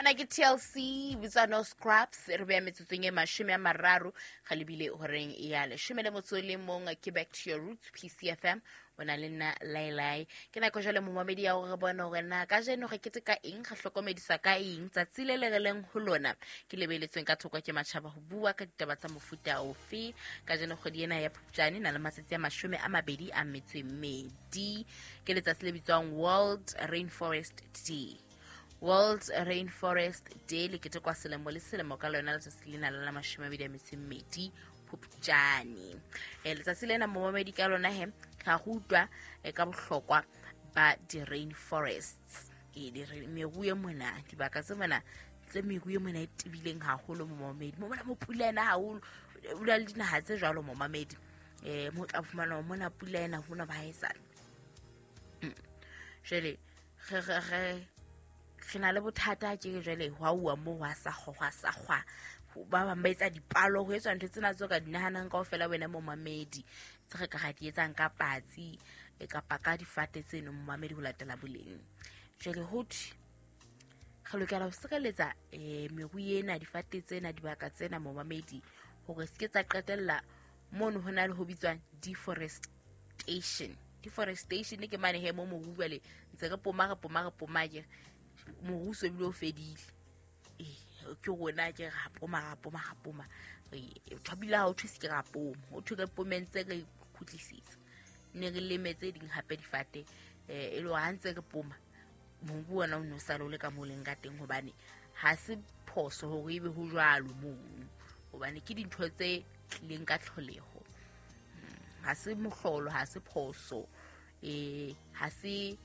Ona ke TLC, bitswa No Scrubs. Re beya metsotsong e 30 ga lebile horeng ya 11. Ke Back to Your Roots, PCFM. O na le nna Lailai. Ke nako jwale, momamedi, ya gore re bone gore na ka jeno re keteka eng, re hlokomedisa ka eng. Tsatsi le le re leng ho lona ke lebeletsweng ka thoko ke matjhaba ho bua ka ditaba tsa mofuta ofe. Ka jeno kgwedi ena ya Phupjane na le matsatsi a 28. Ke letsatsi le bitswang World Rainforest Day. World Rainforest Day le ketekwa selemo le selemo ka lona letsatsi lena la 22 Phupjane. Letsatsi lena, momamedi, ka lona he ga go utlwa ka bohlokwa ba di-rainforests, meru e mona, dibaka tse mona tse meru e mona e tebileng haholo, momamedi, mo mona mo pula ena haholo. O na le dinaha tse jwalo, momamedi, mo tla fumana hore mona pula ena hona ba haesale. Jwale re na le bothata ke jwale hwa uwa mo hwa sa hwa sa kgwa, ba bang ba etsa dipalo, ho etswa ntho tsena tseo ka di nahanang kaofela, wena momamedi, tse re ka ra di etsang ka patsi kapa ka difate tseno, momamedi, ho latela boleng. Jwale ho thwe re lokela ho sireletsa meru ena, difate tsena, dibaka tsena, momamedi, hore se ke tsa qetella mono ho na le ho bitswang deforestation. Deforestation ke mane he mo moru jwale ntse re poma, re poma, re poma, ke moru so bile o fedile. Ke rona ke ra poma, ra poma, ra poma, thobile ha o thwe se ke ra poma, ho thwe re pomeng tse re khutlisitse ne re leme tse ding hape difate, e le hore ha ntse re poma mobu ona o ne o sale o le ka mo leng ka teng, hobane ha se phoso hore ebe ho jwalo mono, hobane ke dintho tse tlileng ka tlholeho. Ha se mohlolo, ha se phoso, ha se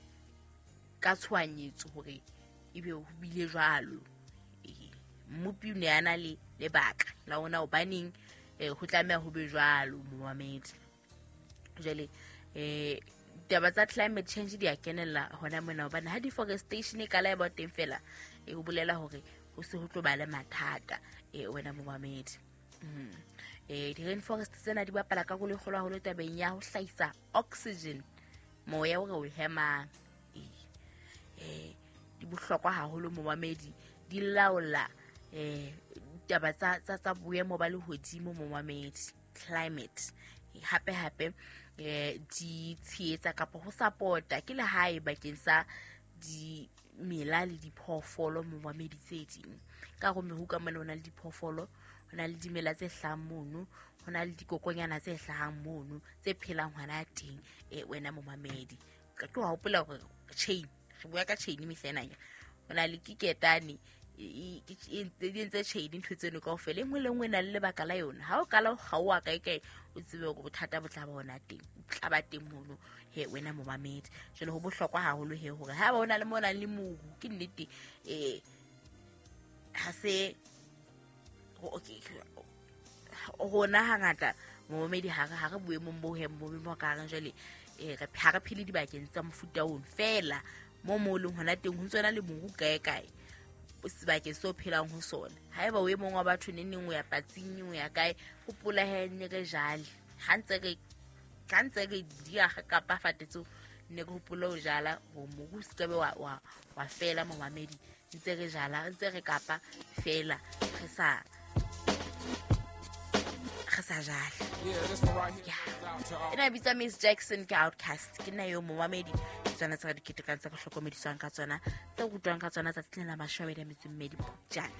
ka tshohanyetso hore ebe ho bile jwalo. Mmopi o ne a na le lebaka la ona hobaneng ho tlameha ho be jwalo, momamedi. Jwale taba tsa climate change di a kenella hona mona, hobane ha deforestation e kala e ba teng fela, e ho bolela hore ho se ho tlo ba le mathata, wena momamedi. Di-rainforest tsena di bapala karolo e kgolo haholo tabeng ya ho hlahisa oxygen, moya o re o hemang. Di bohlokwa haholo, momamedi, di laola taba tsa boemo ba lehodimo, momamedi, climate. Hape hape di tshehetsa kapa ho support-a, ke lehae bakeng sa dimela le diphoofolo, momamedi, tse ding. Ka hore meru ka mona ho na le diphoofolo, ho na le dimela tse hlahang mono, ho na le dikokonyana tse hlahang mono tse phelang hona teng, wena momamedi. Ke wa hopola hore chain, re bua ka chain mehla ena, ho na le kiketane di entse chain. Ntho tseno kaofela, e nngwe le nngwe e na le lebaka la yona. Ha o kala o kgaoha kae kae, o tsebe hore bothata bo tla ba hona teng, bo tla ba teng mono he, wena momamedi. Jwale ho bohlokwa haholo he hore ha ba o na le mo nang le moru, ke nnete, ha se rona hangata, momamedi, ha re boemong bo he boemo ka reng jwale, ha re phele dibakeng tsa mofuta ono fela. Mo leng hona teng ho ntse le moru kae kae sebakeng seo phelang ho sona. Haeba o e mong wa batho neng neng o ya patsing, o ya kae, hopola he ne re jale ha ntse re diaga kapa fate tseo, ne re hopole ho jala hore moru o se ke be wa fela, momamedi. Ntse re jala, ntse re kapa fela, re sa jale. Ena bitsa Miss Jackson, ke Outcast. Ke nna eo, momamedi. Ke tsona tse re di ketekang, tse re hlokomediswang ka tsona, tse rutwang ka tsona tsatsi lena la 28 Phupjane.